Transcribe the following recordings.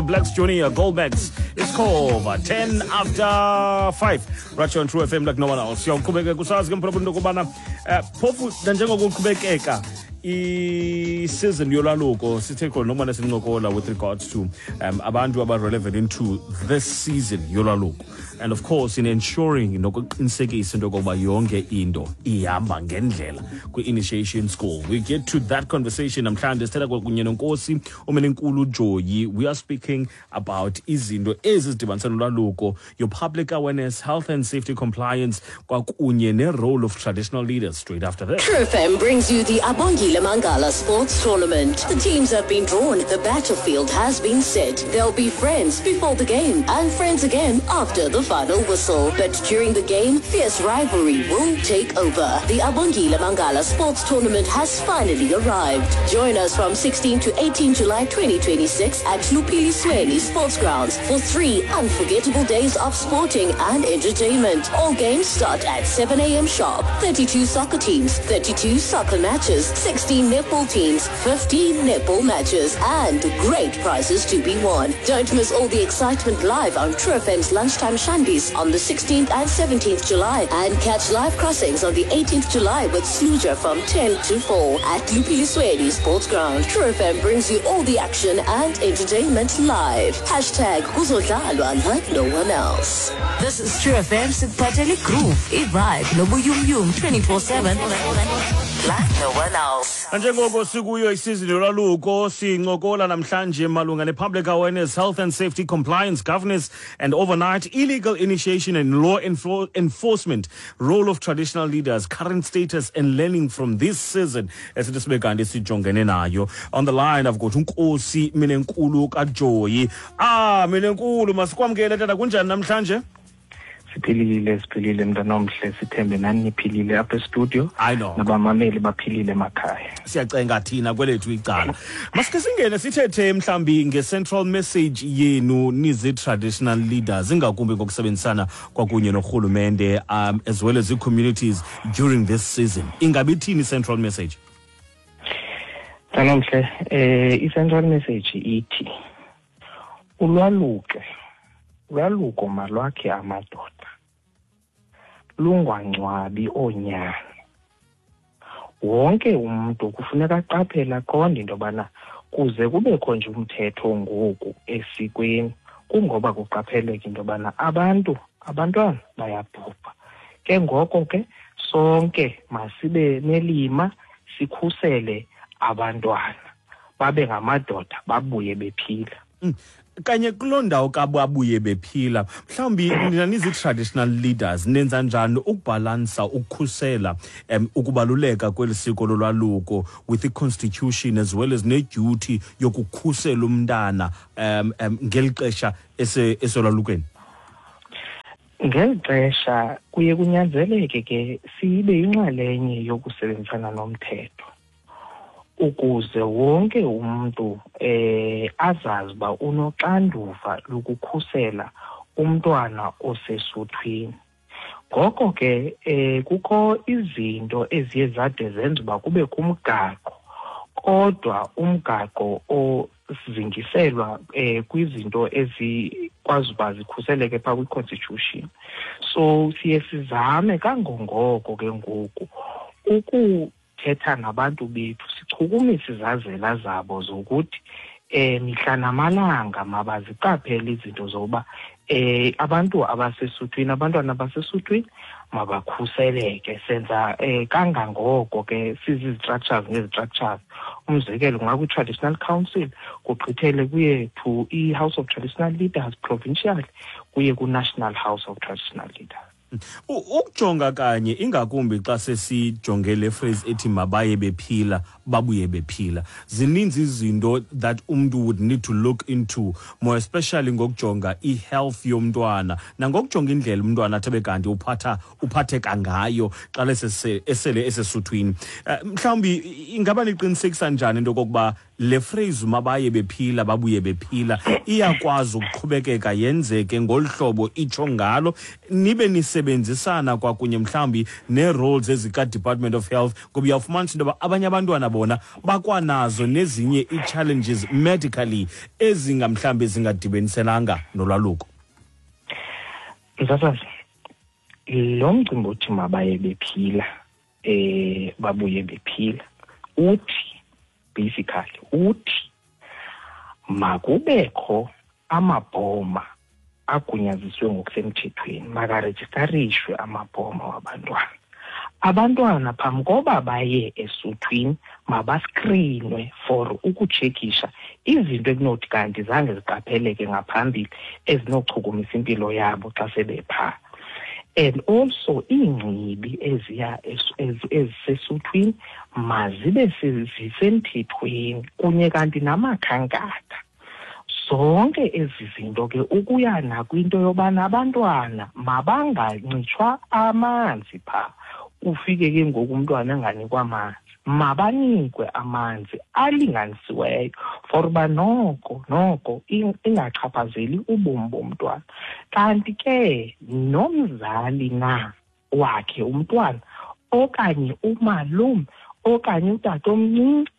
Blacks Junior Goldbacks. It's over 10 after 5. Right here on True FM like no one else. Siyawuqhubekeka kusazi ke mphulaphula into yokubana phofu nanjengoko uqhubekeka i-season yolwaluko, sithe khona nokubana sincokola with regards to abantu aba-relevant into this season yolwaluko, and of course in ensuring nokuqinisekisa into yokokuba yonke into ihamba ngendlela kwi-initiation school. We get to that conversation namhlanje, sithetha kunye noNkosi uMenenkulu Joyi. We are speaking about izinto ezi zidibanisa nolwaluko, your public awareness, health and safety compliance, kwakunye ne-role of traditional leaders, straight after this. True FM brings you the Abongile Mangala Sports Tournament. The teams have been drawn, the battlefield has been set. They'll be friends before the game and friends again after the final whistle. But during the game, fierce rivalry will take over. The Abongile Mangala Sports Tournament has finally arrived. Join us from 16 to 18 July 2026 at Lupilisweni Sports Grounds for 3 unforgettable days of sporting and entertainment. All games start at 7 a.m. sharp. 32 soccer teams, 32 soccer matches, 16 netball teams, 15 netball matches, and great prizes to be won. Don't miss all the excitement live on True FM's Lunchtime Shandies on the 16th and 17th July, and catch live crossings on the 18th July with Sluja from 10 to 4 at Lupilisweni Sports Ground. True FM brings you all the action and entertainment live. #Kuzodlalwa like no one else. This is True FM, sikuphathele groove, i-vibe, nobuyumyum 24/7 like no one else. Nanjengoko sikuyo isizini yolwaluko, sincokola namhlanje malunga ne-public awareness, health and safety compliance, governance and overnight illegal initiation and law enforcement, role of traditional leaders, current status and learning from this season esithi sibe kanti sijongene nayo. On the line I've got uNkosi Minenkulu kaJoyi. Minenkulu, masikwamkele tata, kunjani namhlanje? Siphilile, siphilile mntanomhle, sithembe nani niphilile apha e-studio. I know. Nabamameli baphilile emakhaya. Siyacenga thina kwelethu icala. Masike singene sithethe mhlambi nge-central message yenu nizi-traditional leaders, ingakumbi ngokusebenzisana kwakunye norhulumente, as well as the communities during this season. Ingabe ithini i-central message? Mntanomhle, i-central message ithi ulwaluke, ulwaluko malwakhe amadoda, lungangcwabi oonyana. Wonke umuntu kufuneka aqaphele, aqonde into yobana kuze kubekho nje umthetho ngoku esikweni, kungoba kuqapheleka into yobana abantwana bayabhubha. Ke ngoko ke sonke masibe nelima, sikhusele abantwana babe ngamadoda, babuye bephila. Kanye kuloo ndawo kababuye bephila, mhlawumbi nina nizi-traditional leaders nenza njani ukubhalansa ukukhusela ukubaluleka kweli siko lolwaluko with the constitution as well as ne-duty yokukhusela umntana ngeli xesha esolwalukweni? Ngeli xesha kuye kunyanzeleke ke sibe yinxalenye yokusebenzisana nomthetho ukuze wonke umuntu azazi uba unoxanduva lokukhusela umntwana osesuthwini. Ngoko ke kukho izinto eziye zade zenza uba kube kumgaqo, kodwa umgaqo ozingiselwa kwizinto ezikwazi uba zikhuseleke phaa kwi-constitution. So siye sizame kangangoko ke ngoku ukuthetha nabantu bethu, sichukumise izazela zabo zokuthi mihla namalanga mabaziqaphele izinto zokuba abantu abasesuthwini, abantwana abasesuthwini mabakhuseleke. Senza kangangoko ke sizi-structures ngezi-structures. Umzekelo kungakwi-traditional council, kugqithele kuye to i-House of Traditional Leaders provincial, kuye ku-National House of Traditional Leaders. Ukujonga kanye ingakumbi xa sesijonge le phrase ethi mabaye bephila, babuye bephila, zininzi izinto that umntu would need to look into, more especially ngokujonga i-health yomntwana nangokujonga indlela umntwana athi abe kanti uphatheka ngayo xa esele esesuthwini. Mhlawumbi ingaba niqinisekisa njani into okokuba Le phrase "mabaye bephila babuye bephila" iyakwazi ukuqhubekeka yenzeke ngolu hlobo itsho ngalo, nibe nisebenzisana kwakunye mhlawumbi nee-roles ezika-Department of Health, ngoba uyawufumanisa into yoba abanye abantwana bona bakwanazo nezinye ii-challenges medically ezingamhlawumbi zingadibaniselanga nolwaluko? Msasazi, lo mcimbi othi mabaye bephila babuye bephila uthi basically uthi makubekho amabhoma agunyaziswe ngokusemthethweni, makarejistarishwe amabhoma wabantwana. Abantwana phambi koba baye esuthwini mabaskrinwe for ukutshekisha izinto ekunothi kanti zange ziqapheleke ngaphambili ezinochukumisa impilo yabo xa sebephaa. And also iingcibi eziya ezisesuthwini mazibe zisemthethweni, kunye kanti namakhankatha. Zonke ezi zinto ke, ukuya nakwinto yobana abantwana mabangancitshwa amanzi phaa, ufike ke ngoku umntwana enganikwa amanzi. Mabanikwe amanzi alinganisiweyo for uba noko ingachaphazeli ubomi bomntwana. Kanti ke nomzali na wakhe umntwana okanye umalume okanye utatomncinci,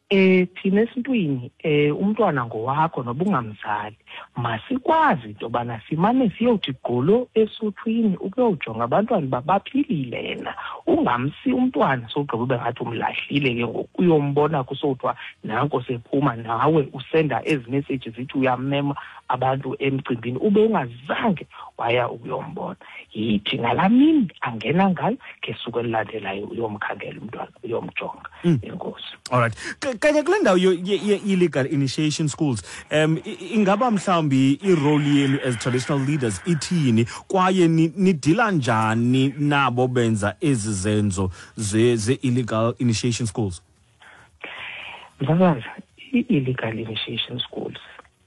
thina esintwini umntwana ngowakho noba ungamzali. Masikwazi into yobana simane siyothi gqolo esuthwini ukuyojonga abantwana uba baphilile na. Ungamsi umntwana sowugqiba ube ngathi umlahlile ke ngoku, uyombona kusowuthiwa nanko sephuma, nawe usenda ezi message zithi uyamema abantu emcimbini ube ungazange waya ukuyombona. Yithi ngalaa mini angena ngayo, ngesuku elilandelayo uyomkhangela umntwana, uyomjonga. Enkosi. Alright, kanye kule ndawo ye-illegal initiation schools, ingaba mhlawumbi i-role yenu as traditional leaders ithini, kwaye nidila njani nabo benza ezi zenzo ze-illegal initiation schools? Msasazi, i-illegal initiation schools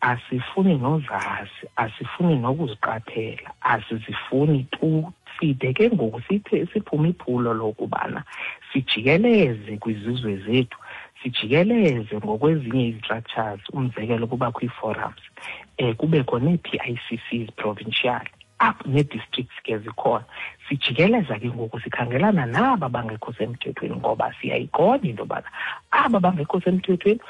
asifuni nozazi, asifuni nokuziqaphela, asizifuni tu. Side ke ngoku sithe siphume iphulo lokubana sijikeleze kwizizwe zethu, sijikeleze ngokwezinye ii-structures, umzekelo kubakho ii-forums, kubekho nee-PICCs provincial apho, nee-districts ke zikhona. Sijikeleza ke ngoku sikhangelana naba bangekho semthethweni, ngoba siyayiqonda into yobana aba bangekho semthethweni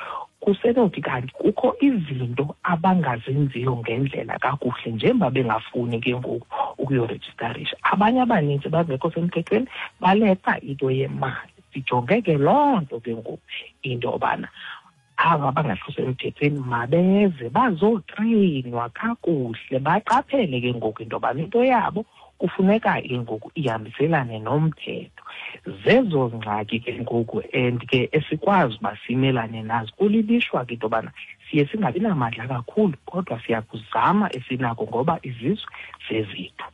kusenothi kanti kukho izinto abangazenziyo ngendlela kakuhle, njengoba bengafuni ke ngoku ukuyorejistarisha. Abanye abanintsi bangekho semthethweni baleqa into yemali. Sijonge ke loo nto ke ngoku into yobana aba bangekho semthethweni mabeze bazotreyinwa kakuhle, baqaphele ke ngoku into yobana into yabo kufuneka ke ngoku ihambiselane nomthetho. Zezo ngxaki ke ngoku and ke esikwazi uba simelane nazo. Kulilishwa ke into yobana siye singabi namandla kakhulu, kodwa siyakuzama esinako ngoba izizwe zezethu.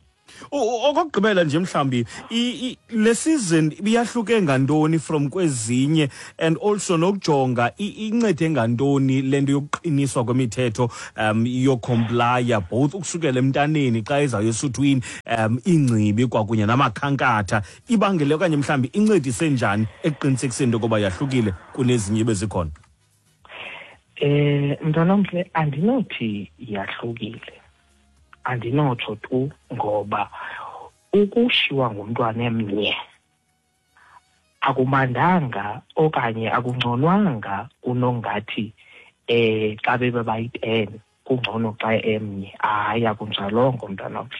Okokugqibela nje mhlawumbi, le season ibiyahluke ngantoni from kwezinye, and also nokujonga incede ngantoni le nto yokuqiniswa kwemithetho yocomplya, both ukusukela emntaneni xa ezayo esuthwini, iingcibi kwakunye namakhankatha, ibangele okanye mhlawumbi incedise njani ekuqinisekiseni into yokuba yahlukile kunezinye bezikhona? Mntwanomhle, andinothi yahlukile, andinotsho tu, ngoba ukushiywa ngumntwana emnye akumandanga okanye akungconwanga kunongathi xa bebe bayi-10 kungcono xa emnye. Hayi, akunjalongo, mntwanomhle.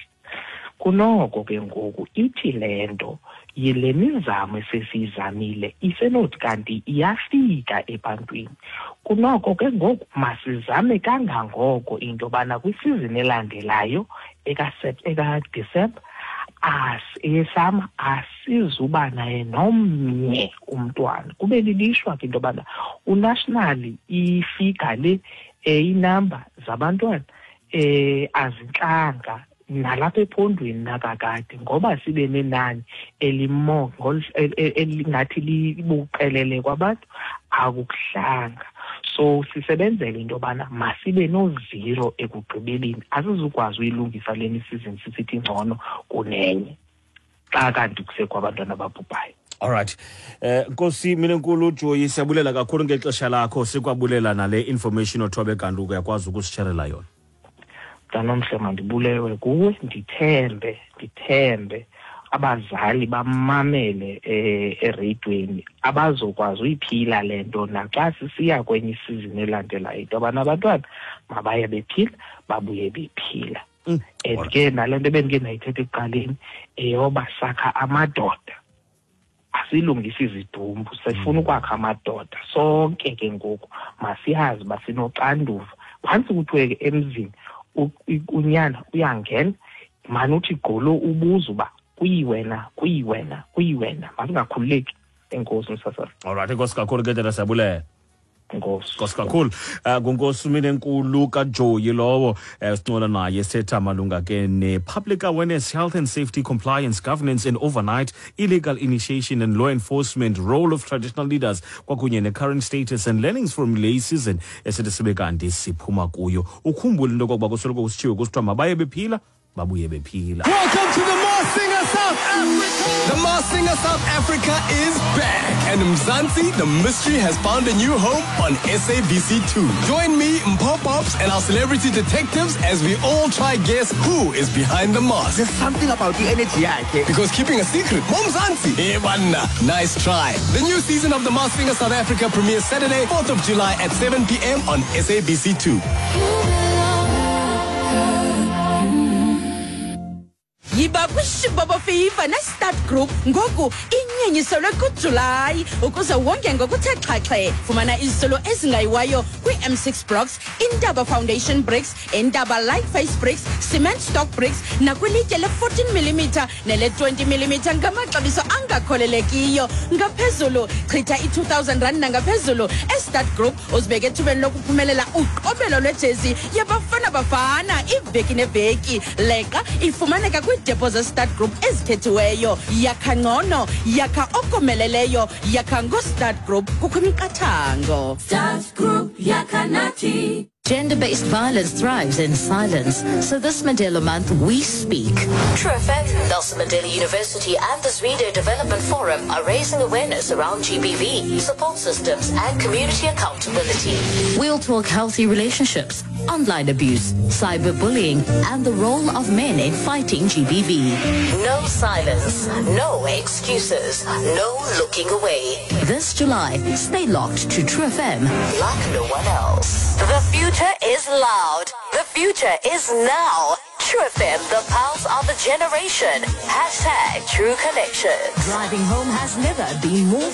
Kunoko ke ngoku ithi le nto yile mizamo esesiyizamile isenothi kanti iyafika ebantwini. Kunoko ke ngoku masizame kangangoko into yobana kwisizini elandelayo ekaDisemba eyesama asizuba naye nomnye umntwana. Kube lilishwa ke into yobana unationally ifiga le, inamba zabantwana azintlanga nalapha ephondweni nakakade, ngoba sibe nenani elimo elingathi libuqelele kwabantu, akukuhlanga. So sisebenzele into yobana masibe no-zero ekugqibeleni. Asizukwazi uyilungisa le season sisithi ngcono kunenye xa kanti kusekho abantwana ababhubhayo. Alright. Nkosi Minenkulu Joyi, siyabulela kakhulu ngexesha lakho, sikwabulela nale information othobe kanti uyakwazi ukusisherela yona. Mntanomhle, mandibulewe kuwe, ndithembe abazali bamamele ereyidweni, abazokwazi uyiphila le nto naxa sisiya kwenye isizini elandelayo, into yobana abantwana mabaye bephila, babuye bephila. And ke nale nto ebendike ndayithetha ekuqaleni, eyoba sakha amadoda, asilungisa izidumbu, sifuna ukwakha amadoda sonke. Ke ngoku masiyazi uba sinoxanduva. Phantsi kuthiwe ke emzini unyana uyangena, mane uthi gqolo ubuza uba kuyiwena, kuyiwena, kuyiwena. Masingakhululeki. Enkosi, msasazi. Alright, enkosi kakhulu ke tata, siyabulela. Enkosi. Nkosi kakhulu. Ngunkosi Minenkulu kaJoyi lowo, sincola naye sithetha malunga ke ne-public awareness, health and safety, compliance, governance and overnight illegal initiation and law enforcement, role of traditional leaders, kwakunye ne-current status and learnings from le season esithi sibe kanti siphuma kuyo. Ukhumbule into yokokuba kusoloko kusitshiwo kusithiwa mabaye bephila, babuye bephila. Welcome to the Masked Singer South Africa. The Masked Singer South Africa is back. And Mzansi, the mystery has found a new home on SABC2. Join me, Mpho Pops, and our celebrity detectives as we all try guess who is behind the mask. There's something about the energy yakhe. Because keeping a secret, Mzansi, hey, banna, nice try. The new season of The Masked Singer South Africa premieres Saturday, 4th of July at 7 p.m. on SABC2. Yiba kwishibobo Fever ne-Start Group ngoku inyenyiselwe kuJulayi ukuze wonge ngokuthe xhaxhe. Fumana iziselo ezingayiwayo kwi-M6 blocks, Intaba Foundation bricks, Intaba Light Face bricks, cement stock bricks nakwilitye le-14 mm nele-20 mm ngamaxabiso angakholelekiyo. Ngaphezulu, chitha i-2000 rand nangaphezulu e-Start Group uzibeke ethubeni lokuphumelela uqobelo lwejezi yaBafana Bafana iveki neveki. Leqa ifumaneka kwiidepo ze-Start Group ezikhethiweyo. Yakha ngcono, yakha okomeleleyo, yakha ngo-Start Group. Kukho imiqathango. Start Group, yakha nathi. Gender-based violence thrives in silence. So this Mandela Month, we speak. True FM, Nelson Mandela University and the Zwide Development Forum are raising awareness around GBV, support systems and community accountability. We'll talk healthy relationships, online abuse, cyberbullying, and the role of men in fighting GBV. No silence, no excuses, no looking away. This July, stay locked to True FM like no one else. The future is loud. The future is now. True FM, the pulse of the generation. #TrueConnections. Driving home has never been more fun.